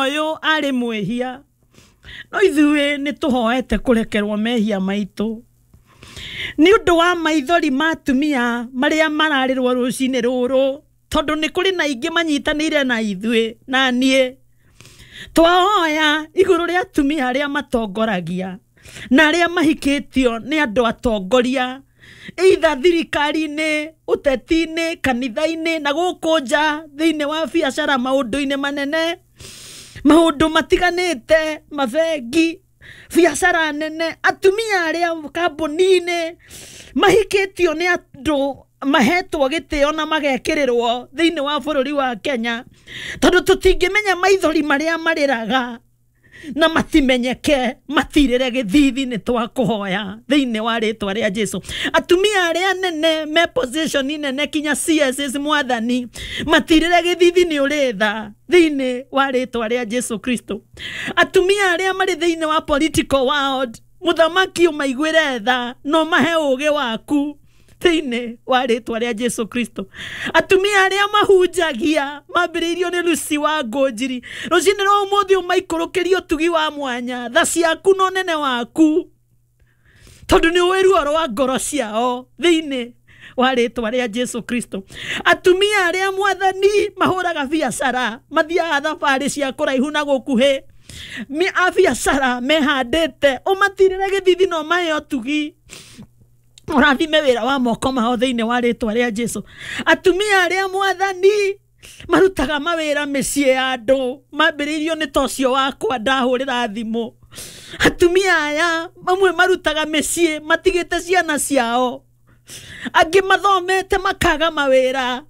Ũyũ arĩ mwĩhia, no ithuĩ nĩ tũhoete kũrekerwo mehia maitũ nĩ ũndũ wa maithori ma atumia marĩa mararĩrwo rũcinĩ rũrũ, tondũ nĩ kũrĩ na ingĩ manyitanĩire na ithuĩ na niĩ. Twahoya igũrũ rĩa atumia arĩa matongoragia na arĩa mahikĩtio nĩ andũ atongoria, either thirikari-inĩ, ũteti-inĩ, kanitha-inĩ na gũkũ nja thĩinĩ wa biacara, maũndũ-inĩ manene, maũndũ matiganĩte, mabengi, biacara nene, atumia arĩa kambuni-inĩ mahikĩtio nĩ andũ mahetwo gĩtĩo na magekĩrĩrwo thĩinĩ wa bũrũri wa Kenya, tondũ tũtingĩmenya maithori marĩa marĩraga na matimenyeke, matirĩre gĩthithi. Nĩ twakũhoya thĩinĩ wa rĩtwa rĩa Jesu, atumia arĩa nene me position nene kinya CSS, Mwathani, matirĩre gĩthithi, nĩ ũrĩ tha thĩinĩ wa rĩtwa rĩa Jesu Kristo. Atumia arĩa marĩ thĩinĩ wa political world, Mũthamaki, ũmaiguĩre tha no mahe ũgĩ waku thĩinĩ wa rĩtwa rĩa Jesu Kristo. Atumia arĩa mahunjagia mambĩrĩirio nĩ Lucy wa Ngũnjiri, rũcinĩ rwa ũmũthĩ ũmaikũrũkĩrie ũtugi wa mwanya, tha ciaku na ũnene waku, tondũ nĩ ũĩ ruo rwa ngoro ciao thĩinĩ wa rĩtwa rĩa Jesu Kristo. Atumia arĩa, Mwathani, mahũraga biacara, mathiaga thabarĩ cia kũraihu na gũkuhĩ, a biacara mehandĩte, ũmatirĩre gĩthithi na ũmahe ũtugi, ũrathime wĩra wa moko mao thĩinĩ wa rĩtwa rĩa Jesu. Atumia arĩa, Mwathani, marutaga mawĩra mĩciĩ ya andũ mambĩrĩirio nĩ ta ũcio wakwa ndahũrĩra thimũ, atumia aya mamwe marutaga mĩciĩ matigĩte ciana ciao, angĩ mathomete makaga mawĩra,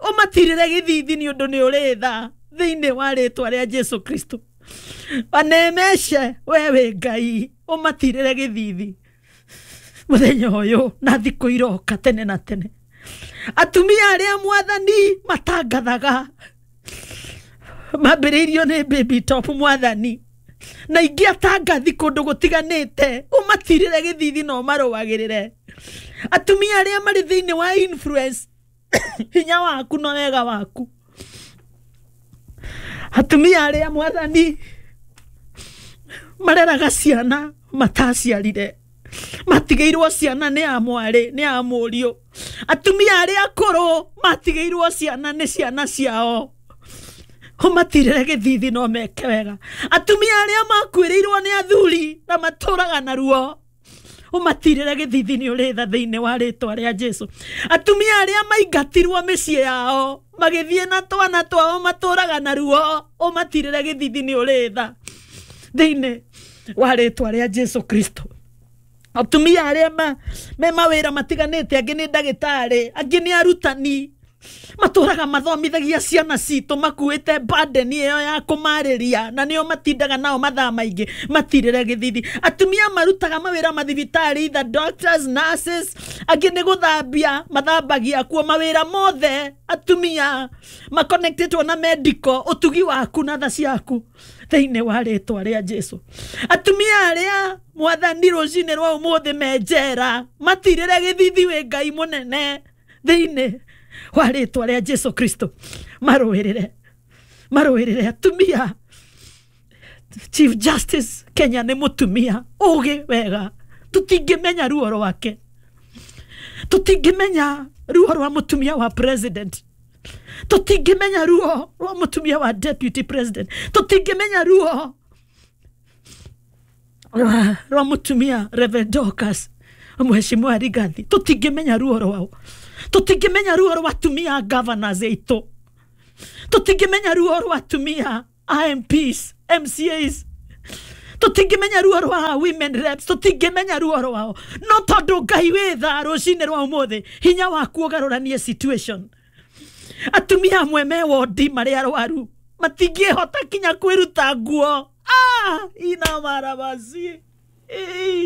ũmatirĩre gĩthithi nĩ ũndũ nĩ ũrĩ tha thĩinĩ wa rĩtwa rĩa Jesu Kristo. Wanemeshe we wĩ Ngai, ũmatirĩre gĩthithi mũthenya ũyũ na thikũ iroka tene na tene. Atumia arĩa, Mwathani, matangathaga mambĩrĩirio nĩ Baby Top, Mwathani, na ingĩ atangathi kũndũ gũtiganĩte, ũmatirĩre gĩthithi na ũmarũagĩrĩre. Atumia arĩa marĩ thĩinĩ wa influence, hinya waku na wega waku. Atumia arĩa, Mwathani, mareraga ciana mataciarire, matigĩirwo ciana nĩ a mwarĩ nĩ a mũriũ, atumia arĩa akũrũ matigĩirwo ciana nĩ ciana ciao, ũmatirĩre gĩthithi no meke wega. Atumia arĩa makuĩrĩirwo nĩ athuri na matũraga na ruo, ũmatirĩre gĩthithi, nĩ ũrĩ tha thĩinĩ wa rĩtwa rĩa Jesu. Atumia arĩa maingatirwo mĩciĩ yao magĩthiĩ na twana twao matũraga na ruo, ũmatirĩre gĩthithi, nĩ ũrĩ tha thĩinĩ wa rĩtwa rĩa Jesu Kristo. Atumia arĩa me mawĩra matiganĩte, angĩ nĩ ndagĩtarĩ, angĩ nĩ arutani, matũraga mathomithagia ciana citũ, makuĩte burden ĩyo ya kũmarĩria na nĩo matindaga nao mathaa maingĩ, matirĩre gĩthithi. Atumia marutaga mawĩra mathibitarĩ, either doctors, nurses, angĩ nĩ gũthambia mathambagia kuo, mawĩra mothe atumia makonectetwo na medical, ũtugi waku na tha ciaku thĩinĩ wa rĩtwa rĩa Jesu. Atumia arĩa, Mwathani, rũcinĩ rwa ũmũthĩ me njera, matirĩre gĩthithi, wĩ Ngai mũnene thĩinĩ wa rĩtwa rĩa Jesu Kristo. Marũĩrĩre, marũĩrĩre atumia. Chief Justice Kenya nĩ mũtumia ũgĩ wega, tũtingĩmenya ruo rwake, tũtingĩmenya ruo rwa mũtumia wa president, tũtingĩmenya ruo rwa mũtumia wa deputy president, tũtingĩmenya ruo rwa mũtumia Reverend Dorcas, Mheshimiwa Rigathi, tũtingĩmenya ruo rwao, tũtingĩmenya ruo rwa atumia governors aitũ, tũtingĩmenya ruo rwa atumia MPs, MCAs, tũtingĩmenya ruo rwa women reps, tũtingĩmenya ruo rwao, no tondũ Ngai wĩ tha, rũcinĩ rwa ũmũthĩ hinya waku ũgarũranie situation. Atumia amwe me wondi marĩ arwaru, matingĩhota kinya kwĩruta nguo. Ah, ina marabasi.